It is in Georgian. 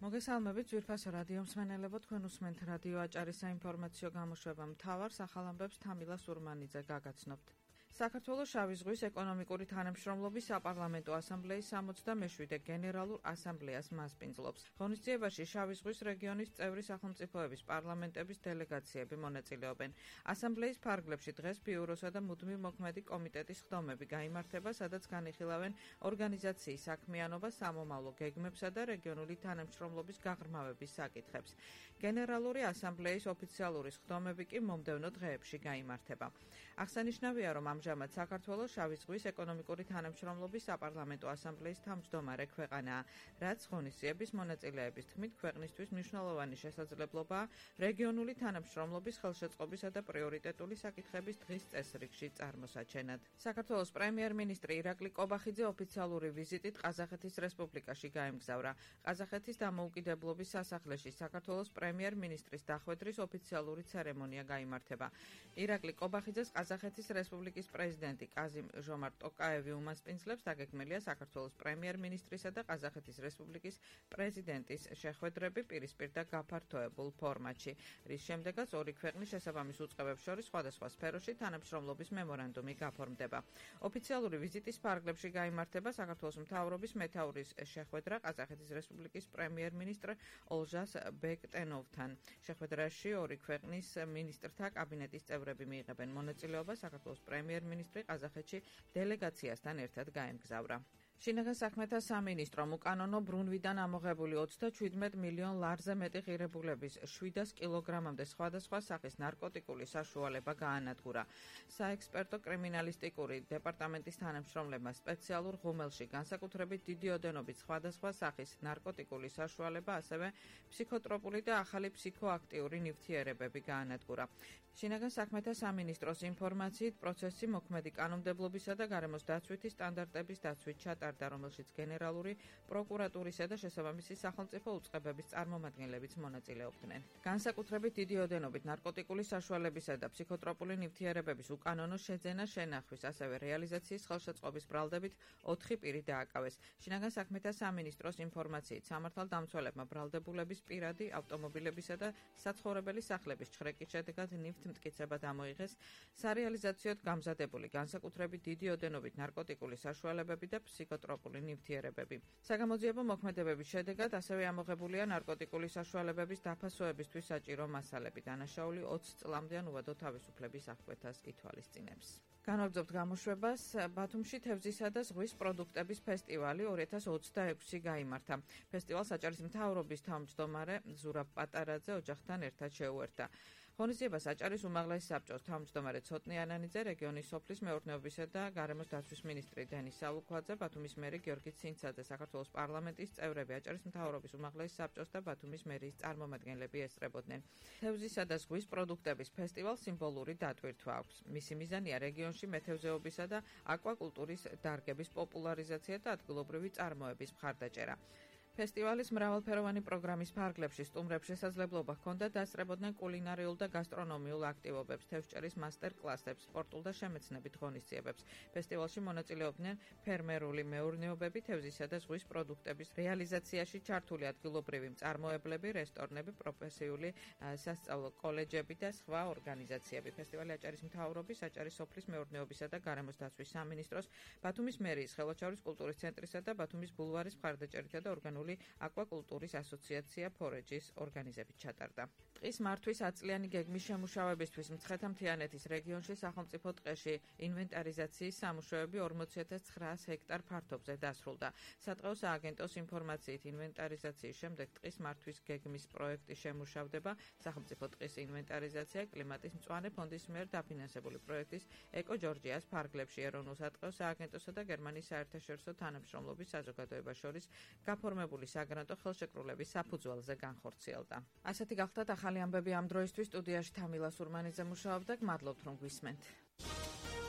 მოგესალმებით ძვირფასო რადიო მსმენელებო, თქვენ უსმენთ რადიო აჭარის საინფორმაციო გამოშვება მთავარ სახალ ამბებს თამილა სურმანიძე გაგაცნობთ. საქართველოს შავი ზღვის ეკონომიკური თანამშრომლობის საპარლამენტო ასამბლეის 67-მე გენერალურ ასამბლეას მასპინძლობს. ღონისძიებაში შავი ზღვის რეგიონის წევრი სახელმწიფოების პარლამენტების დელეგაციები მონაწილეობენ. ასამბლეის ფარგლებში დღეს ბიუროსა და მუდმივ მოქმედი კომიტეტის ხდომები გაიმართება, სადაც განიხილავენ ორგანიზაციის საქმიანობა, სამომავლო გეგმებსა და რეგიონული თანამშრომლობის გაღრმავების საკითხებს. გენერალური ასამბლეის ოფიციალური ხდომები კი მომდევნო დღეებში გაიმართება. აღსანიშნავია, რომ ამჟამად საქართველოს შავი ზღვის ეკონომიკური თანამშრომლობის საპარლამენტო ასამბლეის თავმჯდომარე ქვეყანაა, რაც ღონისძიების მონაწილეების თქმით ქვეყნისთვის მნიშვნელოვანი შესაძლებლობაა რეგიონული თანამშრომლობის ხელშეწყობისა და პრიორიტეტული საკითხების დღის წესრიგში წარმოსაჩენად. საქართველოს პრემიერ-მინისტრი ირაკლი კობახიძე ოფიციალური ვიზიტით ყაზახეთის რესპუბლიკაში გაემგზავრა. ყაზახეთის დამოუკიდებლობის სასახლეში საქართველოს პრემიერ-მინისტრის დახვედრის ოფიციალური ცერემონია გაიმართება. ირაკლი კობახიძეს ყაზახეთის რესპუბლიკის პრეზიდენტი კაზიმ ჟომარტ ტოკაევი უმასპინძლებს, დაგეგმილია საქართველოს პრემიერ-მინისტრისა და ყაზახეთის რესპუბლიკის პრეზიდენტის შეხვედრები პირისპირ და გაფართოებულ ფორმატში, რის შემდეგაც ორი ქვეყნის შესაბამის უწყებებს შორის სხვადასხვა სფეროში თანამშრომლობის მემორანდუმი გაფორმდება. ოფიციალური ვიზიტის ფარგლებში გაიმართება საქართველოს მთავრობის მეთაურის შეხვედრა ყაზახეთის რესპუბლიკის პრემიერ-მინისტრ ოლჟას ბექტენოვთან. შეხვედრაში ორი ქვეყნის მინისტრთა კაბინეტის წევრები მიიღებენ მონაწილეობას. საქართველოს პრემიერ-მინისტრი ყაზახეთში დელეგაციასთან ერთად გაემგზავრა. შინაგან საქმეთა სამინისტრომ უკანონო ბრუნვიდან ამოღებული 37 მილიონ ლარზე მეტი ღირებულების 700 კილოგრამამდე სხვადასხვა სახის ნარკოტიკული საშუალება გაანადგურა. საექსპერტო კრიმინალისტიკური დეპარტამენტის თანამშრომლებმა სპეციალურ ღუმელში განსაკუთრებით დიდი ოდენობით სხვადასხვა სახის ნარკოტიკული საშუალება, ასევე ფსიქოტროპული და ახალი ფსიქოაქტიური ნივთიერებები გაანადგურა. შინაგან საქმეთა სამინისტროს ინფორმაციით პროცესი მოქმედი კანონმდებლობისა და გარემოს დაცვითი სტანდარტების დაცვით ჩატარდა, რომელშიც გენერალური პროკურატურისა და შესაბამისი სახელმწიფო უწყებების წარმომადგენლებიც მონაწილეობდნენ. განსაკუთრებით დიდი ოდენობით ნარკოტიკული საშუალებისა და ფსიქოტროპული ნივთიერებების უკანონო შეძენა შენახვის, ასევე რეალიზაციის ხელშეწყობის ბრალდებით 4 პირი დააკავეს. შინაგან საქმეთა სამინისტროს ინფორმაციით სამართალდამცველებმა ბრალდებულების პირადი ავტომობილებისა და საცხოვრებელი სახლების ჩხრეკის შედეგად მტკიცება დამოიღეს სარეალიზაციოდ გამზადებული განსაკუთრებით დიდი ოდენობით ნარკოტიკული საშუალებები და ფსიქოტროპული ნივთიერებები. საგამოძიებო მოქმედებების შედეგად ასევე ამოღებულია ნარკოტიკული საშუალებების დაფასოებისთვის საჭირო მასალები. დანაშაული 20 წლამდე ან უვადო თავისუფლების აღკვეთას ითვალისწინებს. განვაგრძობთ გამოშვებას. ბათუმში თევზისა და ზღვის პროდუქტების ფესტივალი 2026 გაიმართა. ფესტივალს აჭარის მთავრობის თავმჯდომარე ზურაბ პატარაძე ოჯახთან ერთად შეუერთა. ღონისძიებას აჭარის უმაღლეს საბჭოს თავმჯდომარე ცოტნე ანანიძე, რეგიონის სოფლის მეურნეობისა და გარემოს დაცვის მინისტრი დენის სალუქვაძე, ბათუმის მერი გიორგი ცინცაძე, საქართველოს პარლამენტის წევრები, აჭარის მთავრობის უმაღლეს საბჭოს და ბათუმის მერიის წარმომადგენლები ესწრებოდნენ. თევზისა და ზღვის პროდუქტების ფესტივალს სიმბოლური დატვირთვა აქვს. მისი მიზანია რეგიონში მეთევზეობისა და აკვაკულტურის დარგების პოპულარიზაცია და ადგილობრივი წარმოების მხარდაჭერა. ფესტივალის მრავალფეროვანი პროგრამის ფარგლებში სტუმრებს შესაძლებლობა ჰქონდა დასწრებოდნენ კულინარიულ და გასტრონომიულ აქტივობებს, თევზჭერის მასტერ-კლასებს, სპორტულ და შემეცნებით ღონისძიებებს. ფესტივალში მონაწილეობდნენ ფერმერული მეურნეობები, თევზისა და ზღვის პროდუქტების რეალიზაციაში ჩართული ადგილობრივი მწარმოებლები, რესტორნები, პროფესიული სასწავლო კოლეჯები და სხვა ორგანიზაციები. ფესტივალი აჭარის მთავრობის, აჭარის სოფლის მეურნეობისა და გარემოს დაცვის სამინისტროს, ბათუმის მერიის ხელვაჩაურის კულტურის ცენტრისა და ბათუმის ბულვარის მხარდაჭერითა და ორგანული აკვაკულტურის ასოციაცია ფორეჯის ორგანიზებით ჩატარდა. ტყის მართვის აწლიანი გეგმის შემუშავებისთვის მცხეთა-მთიანეთის რეგიონში სახელმწიფო ტყეში ინვენტარიზაციის სამუშაოები 40.900 ჰექტარ ფართობზე დასრულდა. სატყეო სააგენტოს ინფორმაციით ინვენტარიზაციის შემდეგ ტყის მართვის გეგმის პროექტი შემუშავდება. სახელმწიფო ტყის ინვენტარიზაცია კლიმატის მწვანე ფონდის მიერ დაფინანსებული პროექტის ეკო ჯორჯიას ფარგლებში ეროვნულ სატყეო სააგენტოსა და გერმანიის საერთაშორისო თანამშრომლობის საზოგადოებას შორის გაფორმებული საგრანტო ხელშეკრულების საფუძველზე განხორციელდა. ასეთი გახლდათ ახალი ამბები ამ დროისთვის. სტუდიაში თამილა სურმანიძე მუშაობდა. გმადლობთ, რომ გვისმენთ.